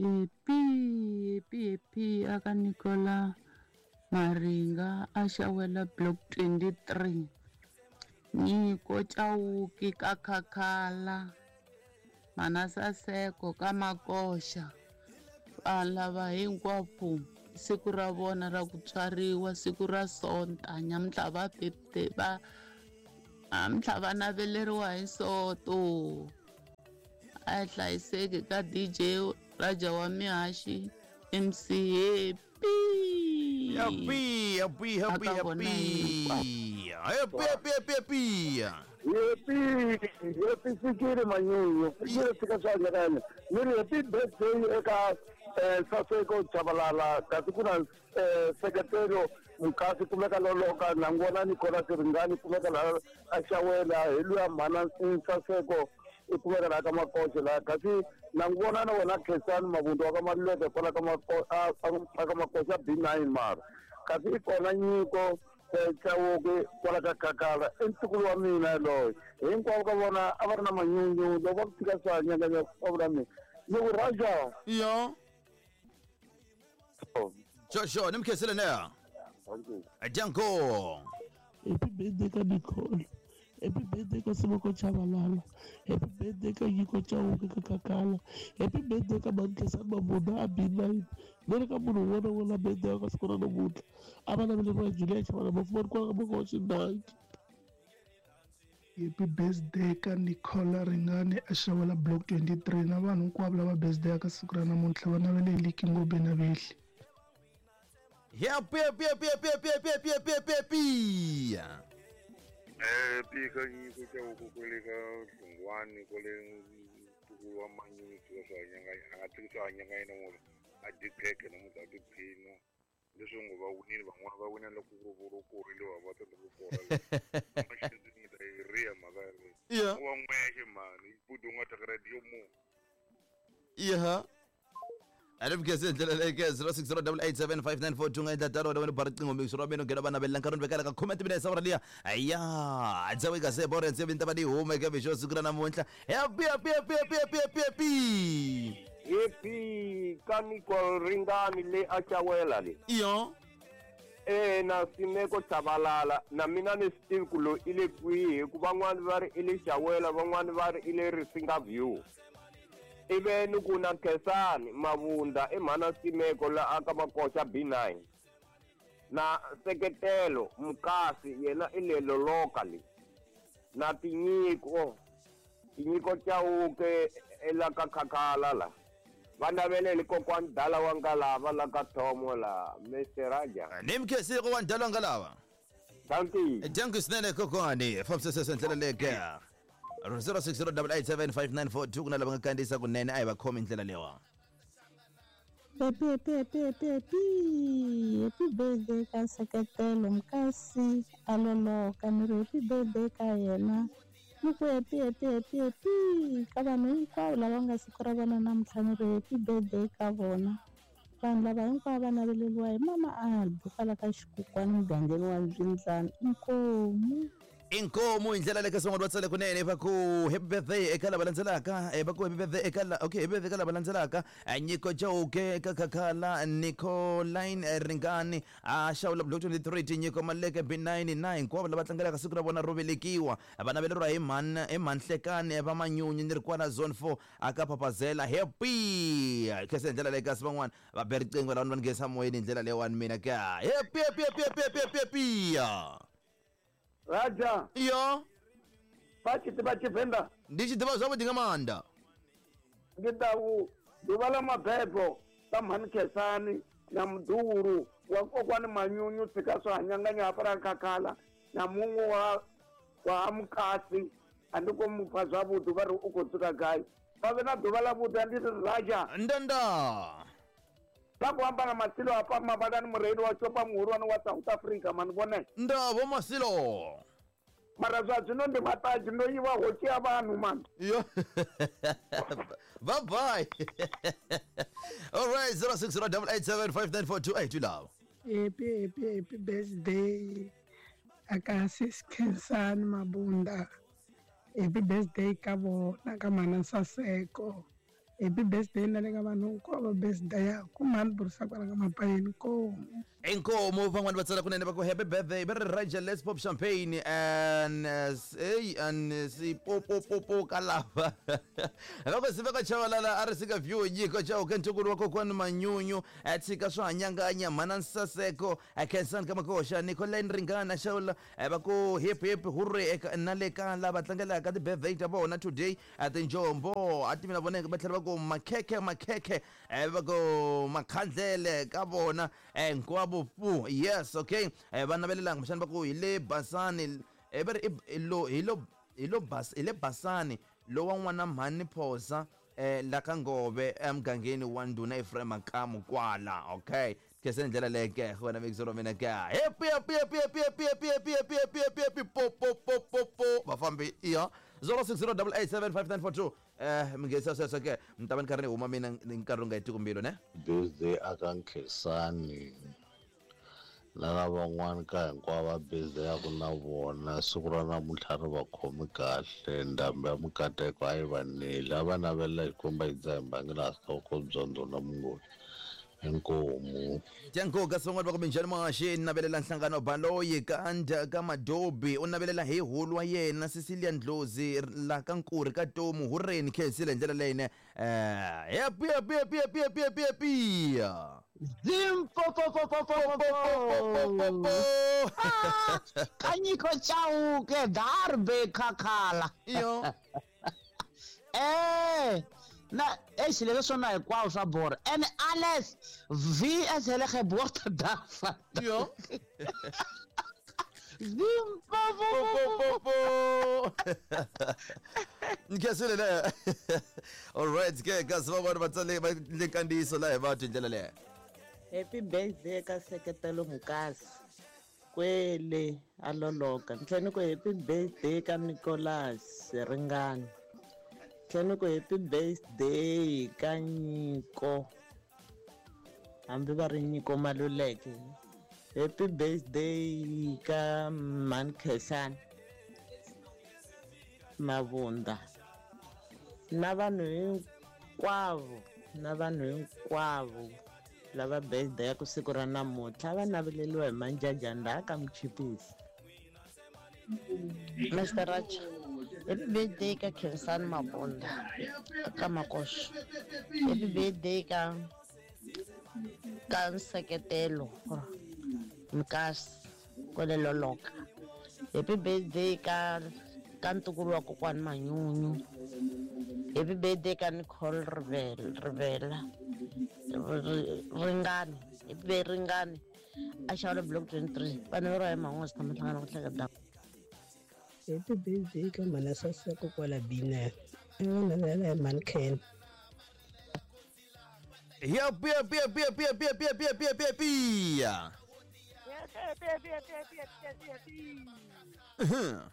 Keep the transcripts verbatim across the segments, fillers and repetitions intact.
Happy happy happy aka Nicola Maringa a xawela block twenty-three. Nyiko Chauke ka Khakhala. Manasaseko ka Makoxa. Vanhu lava hinkwavo siku ra vona ra ku tswariwa siku ra Sonta nyamuntlha va birthday va namuntlha va naveleriwa hi Soto. A hi hlayiseki ka D J Raja wa Mihaxi M C Happy. Happy happy happy happy. Happy happy happy happy. Happy happy fikile manyunyu fikile fika swa nyakanya ni ri happy birthday eka Saseko Chabalala kasi ku na sekretelo Mukasi kumeka loloka nangona Nicolas Ringani kumeka la a xawela hi luya mhana Saseko i kumeka laha ka Makoxe laha kasi nangona na wena Khensani Mavundu wa ka Maluleke kwala ka ka Makoxa B nine mara kasi i kona Nyiko Chauke kwala ka Khakhala i ntukulu wa mina yaloye hinkwavo ka vona a va ri na manyunyu loko va ku tshika swa nyanganya va vula mina ni ku Raja yo Joshua ni mi khensile neya Janko. Happy birthday ka Nicole. Happy birthday ka Simoko Chabalala. Happy birthday ka Nyiko Chauke ka Khakhala. Happy birthday ka Mankesani Mabunda a B nine. Ni ri ka munhu un'wana na un'wana birthday ka siku ra namuntlha. A va naveleriwa Julia Chabalala mafumani kwala ka Makoxa nine. Happy birthday ka Nicola Ringani a xawela block twenty-three na vanhu hinkwavo lava birthday ka siku ra namuntlha va naveleli Ngobe na Vehli. Happy happy happy happy happy happy happy happy happy. Happy ka Nyiko Chauke kwale ka Hlungwani kwale ntukulu wa Manyunyu tshika swa nyanganya a nga tshiki swa nyanganya namuntlha a dyi khekhe namuntlha a tiphina leswi ngo va winile van'wana va wina loko ku ri korile va tsandzeka ku kora ni ta yi riya mhaka yaleyo wa n'wexe mhani budi u nga thyaka radiyo mu yeah. Arifike ndlela leyi zero six zero eight eight seven five nine four two nga endla tano wena ba riqingho mixo ra mina nghena va navelela nkarhi ni vekela ka comment mina sa liya ya dzawe ka se bore ntse vinta va di huma eka mixo siku ra namuntlha happy happy happy happy happy happy happy happy ka Nicole Ringani le a xawela le iyo eh na Simeko Chabalala na mina ni swi tivi ku loyi i le kwihi hikuva van'wani va ri i le xawela van'wani va ri i le Risinga View ive ni ku na Khensani Mavunda i mhana Simeko la aka Makoxa B nine na Seketelo Mukasi yena i le Loloka le na Tinyiko Tinyiko Chauke ela ka Khakhala la va naveleli kokwani Dala wa Ngalava la ka Thomo la Mister Raja ni mi khensile kokwani Dala wa Ngalava. Thank you. Thank you swinene kokwani fambisesa ndlela leyi ke zero six zero eight eight seven five nine four two kuna lava nga kandziyisa kunene a hi va khomi ndlela leyiwa. Happy happy happy happy happy happy birthday ka Seketelo Mukasi a Loloka ni ri happy birthday ka yena ni ku happy happy happy happy ka vanhu hinkwavo lava nga siku ra vona namuntlha ni ri happy birthday ka vona vanhu lava hinkwavo va naveleriwa hi mama Albi kwala ka Xikukwani mugangeni wa Mbyindlani inkomu. Inkomu hi ndlela leyi ka swin'wana va tsale kunene va ku happy birthday eka lava landzelaka va ku happy birthday eka la okay happy birthday eka lava landzelaka Nyiko Chauke eka Khakhala Nicoline Ringani a xawula block twenty-three Tinyiko Maleke B nine nine hinkwavo lava tlangelaka siku ra vona ro velekiwa va naveleriwa hi mhani hi Mhanhlekani va Manyunyu ni ri kwala zone four aka Papazela happy khensa hi ndlela leyi kasi van'wana va be riqingho lava va nghenisa moyeni hi ndlela leyiwani mina ka happy happy happy happy happy happy Raja iyo va tshi ḓivha Tshivenḓa ndi tshi ḓivha zwavhuḓi nga maanḓa ndi ḓa u ḓuvha ḽa mabebo ḽa mhani Khensani na muḓuhulu wa kokwani Manyunyu tshika swa hanyanganya hafhaḽa Khakhala na muṅwe wa wa Mukasi a ndi khou mupfa zwavhuḓi vha ri u khou dzula gai vha vhe na ḓuvha ḽa vhuḓi ndi ri Raja ndanda vha khou amba na Masilo hafha Mavhalani mureili wa shopa muhulwane wa South Africa mani vhone nda vho Masilo mara zwa zwino ndi maṱadzhi ndo yiwa ho tshia vanhu mani yo bye bye all right zero six zero eight eight seven five nine four two eight lava happy happy happy birthday aka sis Khensani Mabunda happy birthday ka vona ka mana Saseko Happy birthday na le ka vanhu hinkwavo birthday ya ku mhani burisa kwala ka mapayeni nkomu. Inkomo van'wani va tsala kunene va ku happy birthday va ri Raja, let's pop champagne and uh, hey and si po po po po ka lava va ku Siveka Chavalala a ri sika view Nyiko Chauke ntukulu wa kokwani Manyunyu a tshika swo hanyanganya mhana Nsaseko a Khensani ka Makoxa Nicolene Ringana Xawula va ku hip hip hurray eka na le ka lava tlangelaka ti-birthday ta vona today a tinjombo a tivi na vona va tlhela va ku makhekhe makhekhe va ku makhandlele ka vona hinkwavo pu yes okay va navelelanga kumbexana va ku hi le Basani va ri hi lo hi lo hi lo bas hi le Basani lowa n'wana mhani Phosa eh la ka Ngove emugangeni wa ndhuna Ephraim Makamu kwala okay kese ndlela leyi ke wena mixero mina ke happy happy happy happy happy happy happy happy happy happy happy po po po po po vafambi iya zero six zero eight eight seven five nine four two eh mingesa sweswo ke mi ta va ni karhi ni huma mina ni nkarhi wu nga hetiku mbilu ne birthday aka Nkhensani na lavan'wana ka hinkwavo va birthday ya ku na vona siku ra namuntlha ri va khomi kahle ndhambi ya mikateko a yi va neli a va navelela Xikwembu yi dzaha mbangela hloko byondzo na mungoni inkomu Dyankoka van'wana va ku minjhani maxi navelela nhlangano baloyi ka ndya ka Madobi u navelela hi hulu wa yena Cecilia Ndlozi la ka Nkuri ka Tomu hureni khensile hi ndlela leyine eh happy happy happy happy happy happy happy Zimpopopopopopopopo Kanyiko Chauke darbe kakhala iyo eh na eish leswi swona hinkwavo swa borha and alles v as hele geboorte daarvan iyo Zimpopopopopo Nkhensile le all right ke kasi van'wana va tsale va le nkandziyiso la hi vatwi hi ndlela leyo Happy birthday ka Seketelo Mukasi kwele a loloka ni tlhela ni ku happy birthday ka Nicholas Ringani tlhela ni ku happy birthday ka Nyiko hambi va ri Nyiko Maluleke happy birthday ka Mhani Khensani Mavunda na vanhu hinkwavo na vanhu hinkwavo lava birthday ya ku siku ra namuntlha va naveleliwa hi manjajanda ka Muchipisi. Mister Raja, happy birthday ka Khensani Mabunda ka Makoxo. Happy birthday ka ka Nseketelo Mukasi kwale Loloka. Happy birthday ka ka ntukulu wa kokwani Manyunyu. Happy birthday ka Nicole Rivela Rivela Ringani happy birthday Ringani a xawula block twenty-three vanhu va ri hi man'wana tshama hlangana ku hleketa. Happy birthday ka mhana Saseko kwala B nine i va navelela hi mhani Ken. Happy happy happy happy happy happy happy happy happy happy Happy happy happy happy happy happy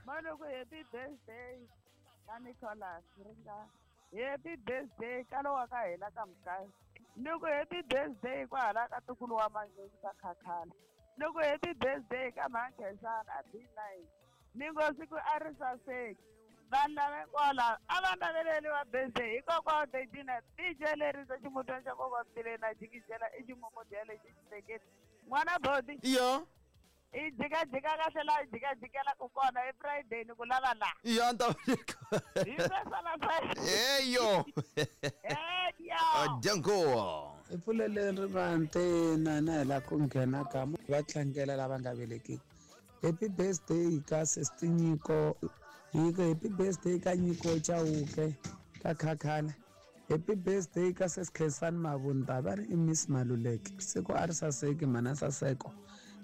Maluku happy birthday ka Nicholas Ringani happy birthday ka lowa ka hina ka Mukasi ni ku happy birthday kwahala ka ntukulu wa Manyunyu ka Khakhala ni ku happy birthday ka Mhani Khensani a B nine ni ngo siku a ri saseki vanhu lava hinkwavo lava a va naveleliwa birthday hikokwalaho Dejina D J lerisa ximutwana xa kokwa Mtileni na jikijela i ximumudiya lexi xitekeni n'wana bodi iyo i jikajika kahle laha i jikajikelaka kona i Friday ni ku lava laha iyo ni ta hi sweswo eyo eyo dyanko i pfuleleni rivanti na na hi la ku nghena ka va tlangela lava nga velekiki happy birthday ka Sister Nyiko Nyiko happy birthday ka Nyiko Chauke ka Khakhala happy birthday ka Sis Khensani Mavunda va ri i Miss Maluleke siku a ri saseki mhana Saseko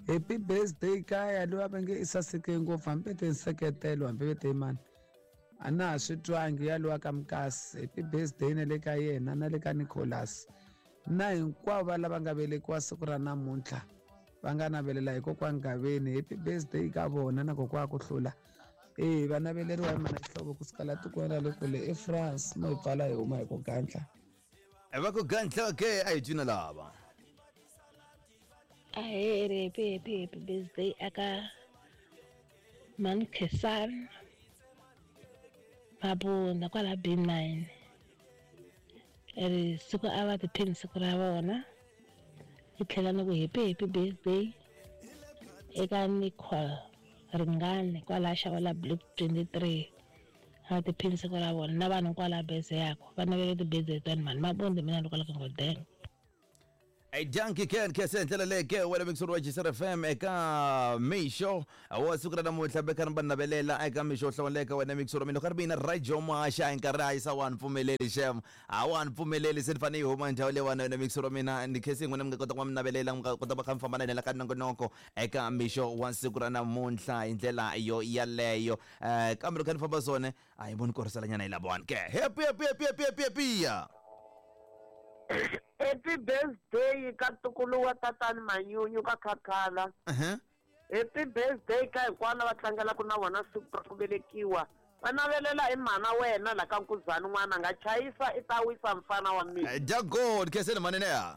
happy birthday ka ya loyi va nge i saseke ngopfu hambi te nseketelo hambi te mani a na ha swi twangi ya lowa ka Mukasi happy birthday na le ka yena na le ka Nicholas na hinkwavo lava nga velekiwa siku ra namuntlha va nga navelela hi kokwani Gaveni happy birthday ka vona na kokwa ku hlula eh va naveleriwa hi mana Xihlovo kusuka la tikweni ra le kule eFrance mo hi pfala hi huma hi ku gandla va ku gandla ke a hi twina lava Aheri happy happy happy birthday aka Mhani Khensani Mabunda kwala B nine. Ri siku a va tiphini siku ra vona. Ni tlhela ni ku happy happy birthday eka Nicole Ringani kwala Xawela Block twenty-three. A va tiphini siku ra vona na vanhu kwala birthday yako va navele ti-birthday tani mhani mabondi mina ni kwala ka Ngodeng. Hey, dankie Ken kese ndlela leke wena mixoro wa G C R F M eka mixo wa siku ra namuntlha bekani va navelela eka mixo hlawuleka wena mixoro mina ka ri mina Radio Maxa hi nkarhi a yisa wa ni pfumeleli xem a wa ni pfumeleli se ni fanele yi huma ndhawu leyiwani wena mixoro mina ni khesi n'wina mi nga kota ku va mi navelela mi nga kota va kha mi famba na hina la ka nongonoko eka mixo wa siku ra namuntlha hi ndlela yo yaleyo. um kambe loko kha ni famba swona a hi voni koriselanyana hi lavawani ke. Happy, happy, happy, happy, happy, happy ya. Happy birthday ka ntukulu wa tatani Manyunyu ka Khakhala. Uh-huh. Happy birthday ka hinkwavo va tlangelaka na vona siku ra ku velekiwa. Va navelela hi mhana wena la ka Nkuzani, n'wana nga chayisa i ta wisa mfana wa mina. Danko kheseni manene ya.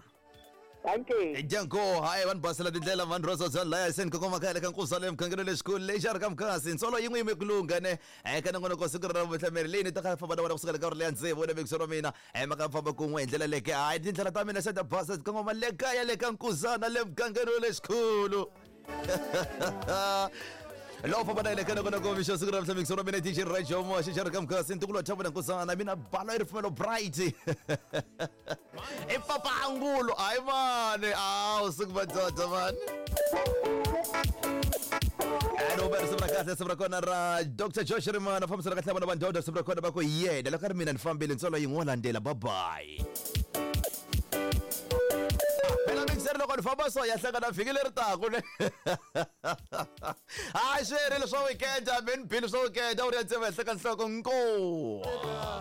Dankie. Danko hayi vanhu basela tindlela vanhu rosa bya laya seni kokoma kaya ka Nkuzani emugangeni lexikulu lexi a ri ka mukasi ntsolo yin'we yime kulunga ne eka nongonoko siku ra vuhlameri leyi ni ta kha famba na wena kusukela ka uri leya ntsevu wena vekisero wa mina maka famba kun'we hi ndlela leke hayi tindlela ta mina se ta basa kongoma le kaya le ka Nkuzana le mugangeni lexikulu lowu famba na yena ka nongonoko mixo siku ra vuhlameri wa mina D J Radio Moxa xa ri ka mukasi ntukulu wa Thabo na Nkuzana mina balo i ripfumelo bright i papa angulo hayi mani awu siku madoda mani. Ano ba risimu ra kahle risimu ra kona ra Doctor Josh Rimana fambisana kahle vana va ndoda risimu ra kona va ku yena loko a ri mina ni fambile ntsolo yin'we landzela bye bye. Phela mixer loko ni famba so ya hlangana vhiki leri taku ne hayi swi herile swa weekend a mi ni bile swa weekend a wu ri ya ntsema henhla ka nhloko nko.